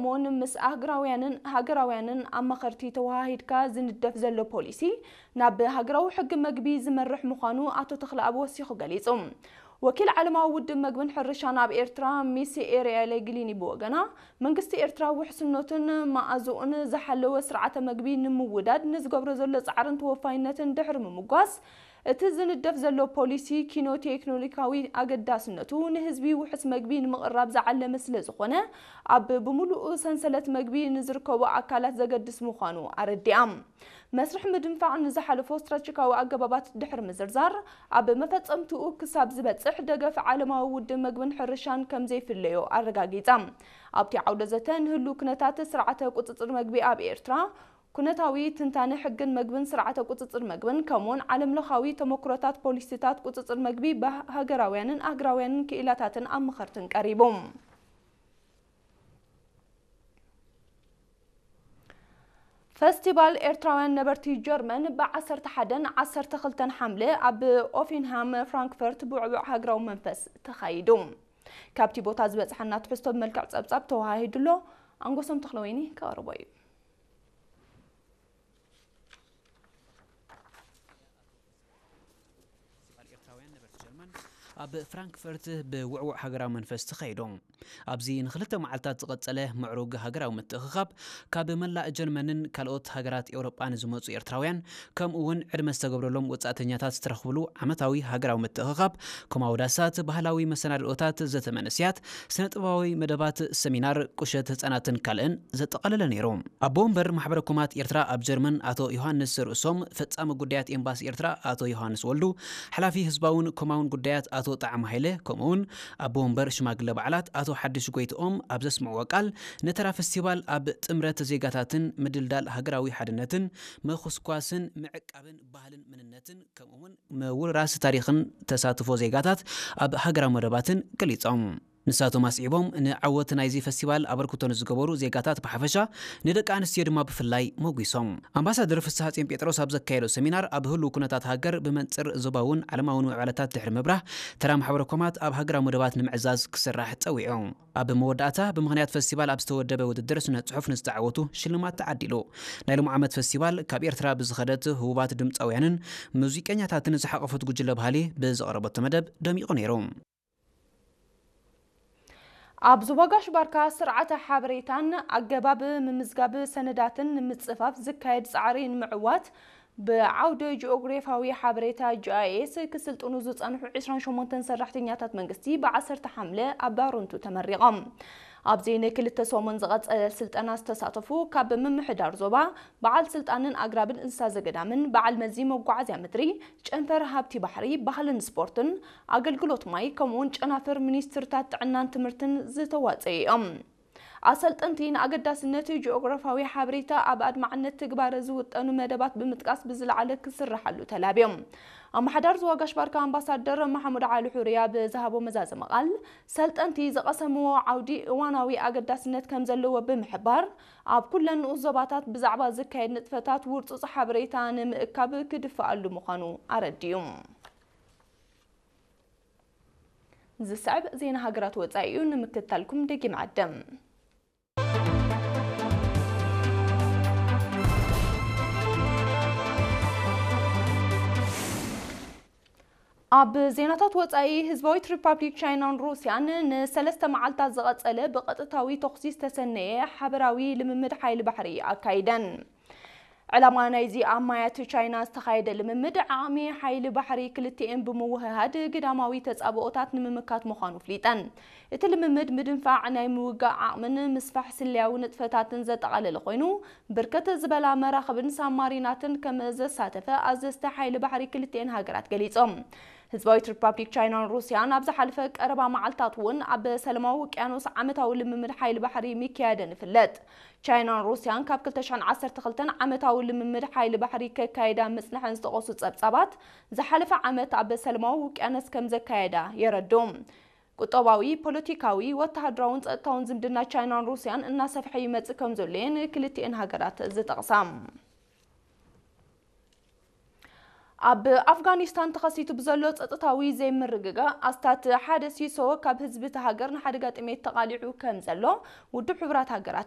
ሞን ምስ ኣህግራውያንን ሃገራውያንን ኣማኸርቲ ተወሃሂድካ ዝንደፍ ዘሎ ፖሊሲ ናብ ሃገራዊ ሕጊ መግቢ ዝመርሕ ምዃኑ ኣቶ ተኽለኣብ ወሲኹ ገሊጹ። ወኪል ዓለማዊ ውድብ መግብን ሕርሻን ኣብ ኤርትራ ሚስ ኤሪያ ሌግሊኒ ብወገና፣ መንግስቲ ኤርትራ ውሕስነቱን መኣዝኡን ዝሓለወ ስርዓተ መግቢ ንምውዳድ ንዝገብሮ ዘሎ ጻዕርን ተወፋይነትን ድሕሪ ምምጓስ፣ እቲ ዝንደፍ ዘሎ ፖሊሲ ኪኖ ቴክኖሎጂካዊ ኣገዳስነቱ ንህዝቢ ውሑስ መግቢ ንምቕራብ ዝዓለመ ስለ ዝኾነ፣ ኣብ ብምሉእ ሰንሰለት መግቢ ንዝርከቡ ኣካላት ዘገድስ ምዃኑ ኣረዲኣ። መስርሕ ምድንፋዕ ንዝሓለፎ ስትራቴጂካዊ ኣገባባት ድሕሪ ምዝርዛር፣ ኣብ መፈጸምትኡ ክሳብ ዝበጽሕ ደገፍ ዓለማዊ ውድብ መግብን ሕርሻን ከም ዘይፍለዮ ኣረጋጊጻ። ኣብቲ ዓውደ ዘተ ንህሉ ኩነታት ስርዓተ ቁጽጽር መግቢ ኣብ ኤርትራ፣ ኩነታዊ ትንታነ ሕግን መግብን ስርዓተ ቁጽጽር መግብን ከምኡውን ዓለምለኻዊ ተመክሮታት ፖሊሲታት ቁጽጽር መግቢ ብሃገራውያንን ኣህግራውያንን ክኢላታትን ኣማኸርትን ቀሪቡ። ፈስቲቫል ኤርትራውያን ነበርቲ ጀርመን ብ ዓሰርተ ሓደን ዓሰርተ ክልተን ሓምለ ኣብ ኦፊንሃም ፍራንክፈርት ብውዕቡዕ ሃገራዊ መንፈስ ተኻይዱ። ካብቲ ቦታ ዝበጽሓና ትሕዝቶ ብመልክዕ ጸብጻብ ተወሃሂዱ ኣሎ። ኣንጎሶም ተኽለወይኒ ከቕርቦ እዩ። ፈስቲቫል ኤርትራውያን ነበርቲ ጀርመን ኣብ ፍራንክፈርት ብውዕዉዕ ሃገራዊ መንፈስ ተኻይዱ። ኣብዚ ንክልተ መዓልታት ዝቐጸለ ምዕሩግ ሃገራዊ ምትእኽኻብ፣ ካብ መላእ ጀርመንን ካልኦት ሃገራት ኤውሮጳን ዝመጹ ኤርትራውያን፣ ከምኡ እውን ዕድመ ዝተገብረሎም ወጻእተኛታት ዝተረኽብሉ ዓመታዊ ሃገራዊ ምትእኽኻብ፣ ኮማዊ ዳሳት፣ ባህላዊ መሰናድኦታት፣ ዘተ መንእሰያት፣ ስነ-ጥበባዊ መደባት፣ ሰሚናር፣ ቁሸት ህጻናትን ካልእን ዘጠቓለለ ነይሩ። ኣቦ ወንበር ማሕበረ ኮማት ኤርትራ ኣብ ጀርመን ኣቶ ዮሃንስ ርእሶም፣ ፈጻሚ ጉዳያት ኤምባሲ ኤርትራ ኣቶ ዮሃንስ ወልዱ፣ ሓላፊ ህዝባውን ኮማውን ጉዳያት ኣቶ ጣዕመ ሃይለ፣ ከምኡውን ኣቦ ወንበር ሽማግለ በዓላት ኣቶ ሓድሽ ጎይትኦም ኣብ ዘስምዕዎ ቃል፣ ነተራ ፈስቲቫል ኣብ ጥምረት ዜጋታትን ምድልዳል ሃገራዊ ሓድነትን ምኹስኳስን ምዕቃብን ባህልን መንነትን ከምኡውን ምውርራስ ታሪኽን ተሳትፎ ዜጋታት ኣብ ሃገራዊ መደባትን ገሊጾም። ንሳቶም ኣስዒቦም፣ ንዓወት ናይዚ ፈስቲቫል ኣበርክቶ ንዝገበሩ ዜጋታት ብሓፈሻ፣ ንደቂ ኣንስትዮ ድማ ብፍላይ መጒሶም። ኣምባሳደር ፍስሃጽዮን ጴጥሮስ ኣብ ዘካየዶ ሰሚናር፣ ኣብ ህሉው ኩነታት ሃገር ብመንጽር ዞባውን ዓለማውን ምዕባለታት ድሕሪ ምብራህ፣ ተራ ማሕበረ ኮማት ኣብ ሃገራዊ መደባት ንምዕዛዝ ክስራሕ ጸዊዑ። ኣብ መወዳእታ፣ ብምኽንያት ፈስቲቫል ኣብ ዝተወደበ ውድድር ስነ ጽሑፍ ንዝተዓወቱ ሽልማት ተዓዲሉ። ናይ ሎሚ ዓመት ፈስቲቫል፣ ካብ ኤርትራ ብዝኸደት ህቡባት ድምጻውያንን ሙዚቀኛታትን ዝሓቖፈት ጉጅለ ባህሊ ብዘቕረበቶ መደብ ደሚቑ ነይሩ። ኣብ ዞባ ጋሽ ባርካ ስርዓተ ሓበሬታን ኣገባብ ምምዝጋብ ሰነዳትን ንምጽፋፍ ዝካየድ ጻዕሪ ንምዕዋት ብዓውደ ጂኦግራፊያዊ ሓበሬታ ጂ ኣይ ኤስ ክስልጥኑ ዝጸንሑ ዕስራን ሸሞንተን ሰራሕተኛታት መንግስቲ ብ ዓሰርተ ሓምለ ኣብ ባሮንቱ ተመሪቖም። ኣብዚ ንክልተ ሰሙን ዝቐጸለ ስልጠና ዝተሳተፉ ካብ ምምሕዳር ዞባ፣ በዓል ስልጣንን ኣግራብን እንስሳ ዘገዳምን፣ በዓል መዚ መጓዓዝያ ምድሪ፣ ጨንፈር ሃብቲ ባሕሪ፣ ባህልን ስፖርትን፣ ኣገልግሎት ማይ፣ ከምኡውን ጨናፍር ሚኒስትርታት ጥዕናን ትምህርትን ዝተዋጸዩ እዮም። ኣሰልጠንቲ ንኣገዳስነት ጂኦግራፊያዊ ሓበሬታ ኣብ ኣድማዕነት ትግባረ ዝውጠኑ መደባት ብምጥቃስ ብዝለዓለ ክስርሓሉ ተላብዮም። ኣመሓዳር ዞባ ጋሽ ባርካ ኣምባሳደር መሓሙድ ዓሊ ሑርያ ብዝሃቦ መዛዘሚ ቃል፣ ሰልጠንቲ ዝቐሰምዎ ዓውዲ እዋናዊ ኣገዳስነት ከም ዘለዎ ብምሕባር፣ ኣብ ኩለን ንኡስ ዞባታት ብዛዕባ ዝካየድ ንጥፈታት ውርጹጽ ሓበሬታ ንምእካብ ክድፍኣሉ ምዃኑ ኣረዲኡ። ዝስዕብ ዜና ሃገራት ወጻኢ እዩ፣ ንምክትታልኩም ደጊም ዓደም። ኣብ ዜናታት ወጻኢ፣ ህዝባዊት ሪፓብሊክ ቻይናን ሩስያን ንሰለስተ መዓልታት ዝቐጸለ ብቐጥታዊ ተኹሲ ዝተሰነየ ሓበራዊ ልምምድ ሓይሊ ባሕሪ ኣካይደን። ዕላማ ናይዚ ኣብ ማያት ቻይና ዝተኻየደ ልምምድ፣ ዓቕሚ ሓይሊ ባሕሪ ክልቲኤን ብምውህሃድ ግዳማዊ ተጻብኦታት ንምምካት ምዃኑ ኣፍሊጠን። እቲ ልምምድ፣ ምድንፋዕ ናይ ምውጋእ ዓቕምን ምስፋሕ ስለያዊ ንጥፈታትን ዘጠቓለለ ኮይኑ፣ ብርከት ዝበላ መራኽብን ሳብማሪናትን ከም ዘሳተፈ ኣዘዝቲ ሓይሊ ባሕሪ ክልቲኤን ሃገራት ገሊጾም። ህዝባዊት ሪፓብሊክ ቻይናን ሩስያን ኣብ ዝሓለፈ ቀረባ መዓልታት እውን ኣብ ሰላማዊ ውቅያኖስ ዓመታዊ ልምምድ ሓይሊ ባሕሪ ምክያደን ይፍለጥ። ቻይናን ሩስያን ካብ ክልተ ሽሕን ዓሰርተ ክልተን ዓመታዊ ልምምድ ሓይሊ ባሕሪ ከካይዳ ምጽንሐን ዝጠቐሱ ጸብጻባት፣ ዝሓለፈ ዓመት ኣብ ሰላማዊ ውቅያኖስ ከም ዘካየዳ የረድኡ። ቁጠባዊ፣ ፖለቲካዊ፣ ወተሃደራውን ጸጥታውን ዝምድና ቻይናን ሩስያን እናሰፍሐ ይመጽእ ከም ዘሎ እየን ክልቲኤን ሃገራት ዝጠቕሳ። ኣብ ኣፍጋኒስታን ተኸሲቱ ብዘሎ ጸጥታዊ ዘይምርግጋእ፣ ኣስታት ሓደ ሲሶ ካብ ህዝቢ እቲ ሃገር ንሓደጋ ጥሜት ተቓሊዑ ከም ዘሎ ውድብ ሕቡራት ሃገራት